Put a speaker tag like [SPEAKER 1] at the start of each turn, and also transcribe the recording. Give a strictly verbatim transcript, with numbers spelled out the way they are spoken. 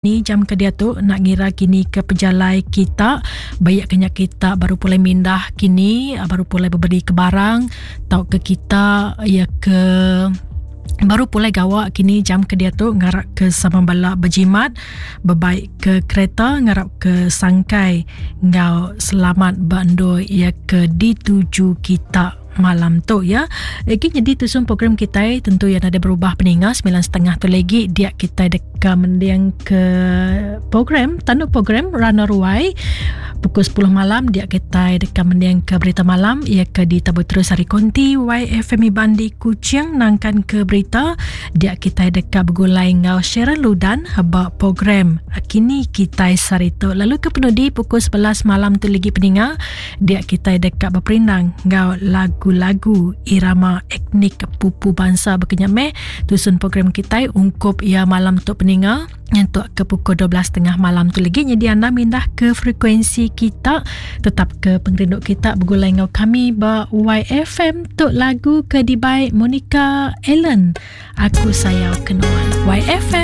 [SPEAKER 1] Ni jam ke diatu enda ngira kini ke pejalai kita bayak ke nya kita baru pulai mindah kini baru pulai bebeli ke barang tauka kita iya ke baru pulai gawa kini jam ke diatu ngarap ke sama bala bejimat bebaik ke kereta ngarap ke sangkai enggau selamat ba endur iya ke dituju kita. Malam tu ya. Lagi nyadi tusun program kitai tentu ya nadai berubah peninga sembilan setengah tu lagi dia kitai deka mending ke program tanu program Rana Ruai pukul sepuluh malam dia kitai deka mending ke berita malam ia ke ditabur terus hari konti Y F M Iban di Kuching nangkan ke berita dia kitai deka begulai ngau Sharon Ludan ba program kini kitai sarito. Lalu ke penudi pukul sebelas malam tu lagi peninga dia kitai deka berperindang ngau lagu-lagu irama etnik pupu bangsa berkenyameh tusun program kitai ungkup ia malam tu peninga nyentuk ke pukul dua belas tiga puluh malam tu lagi. Jadi anda mindah ke frekuensi kita tetap ke pengerindu kita bergulai ngau kami ba Y F M tu lagu ke dibai Monica Ellen Aku Sayau Kenuan. Y F M.